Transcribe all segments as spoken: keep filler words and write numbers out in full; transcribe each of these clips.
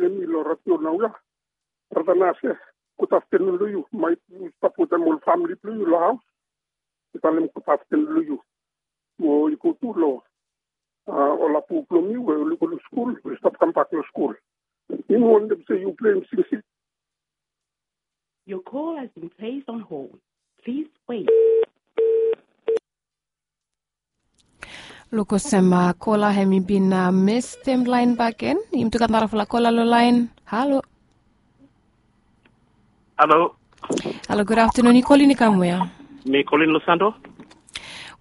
Em i lo ratio nau ya. Brata Nase, gud aftenun lo yu. Mai yu stap wetem ol famili blo yu lo haus. Mi talem gud aftenun lo yu. Mo i go tu lo, a, ol apu blo mi we oli go lo skul, we stap kambak lo skul. Mi wantem se yu pleim singsing. Your call has been placed on hold. Please wait. Luk olsem kola hemi bin mestem lain bakegen. Yumi tu gat narafala kola lo lain. Halo. Halo. Halo, gud aftenun. Yu kolin i kam wea? Mi kolin lo Santo.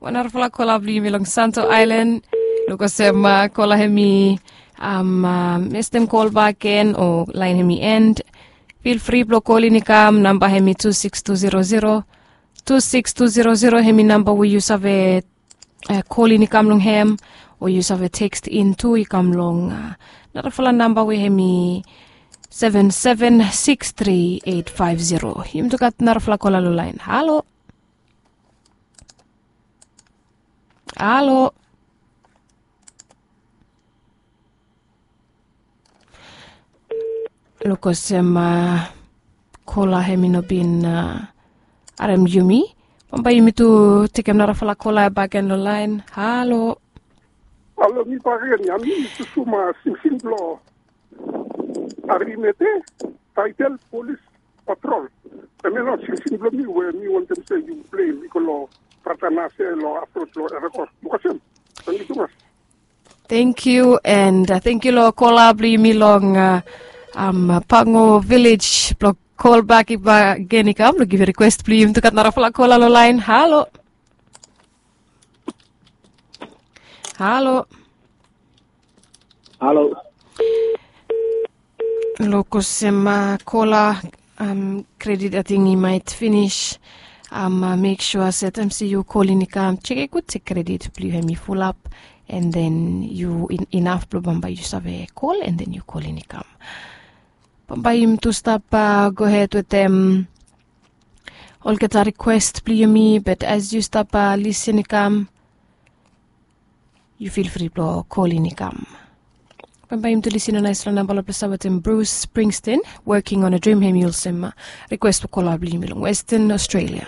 Wan narafala kola blo yumi long Santo Aelan. Luk olsem kola hemi mestem kol bakegen o lain hemi en. Fil fri blo kolin i kam, namba hemi tu sikis tu zero zero. Tu sikis tu zero zero hemi namba we yu save kolin i kam long hem, o yu save tekst in tu i kam long narafala namba we hemi seven seven six three eight five zero. Yumi tu gat narafala kola lo lain. Halo. Halo. Luk olsem kola hemi no bin harem yumi. Bambae yumi tu tekem narafala kola bakegen lo lain. Halo. Halo, mi bakegen ya, mi susuma singsing blo Arimete, taetel Polis Patrol. Hemia nao singsing blo mi we mi wantem se yu pleim i go lo Brata Nase lo afrod lo Erekos. Luk olsem. Tangkiu tumas. Tangkiu, and tangkiu lo kola blo yumi long Pango Vilej blo kol bak bakegen i kam blo givim rikwes blo yumi tu gat narafala kola lo lain. Halo. Halo. Halo. Luk olsem kola, kredit ating i maet finis. Mek sua se taem se yu kolin i kam, jek gud se kredit blo yu hemi fulap, and then yu inaf blo bambae yu save kol, and then yu kolin i kam. Bambae yumi tu stap gohed wetem olgeta rikwes blo yumi, but as yu stap lisin i kam, yu fil fri blo kolin i kam. Bambae yumi tu lisin lo naesfala namba lo ples wetem Bruce Springsteen, Working on a Dream, hemi olsem rikwes blo kola blo yumi long Western Australia.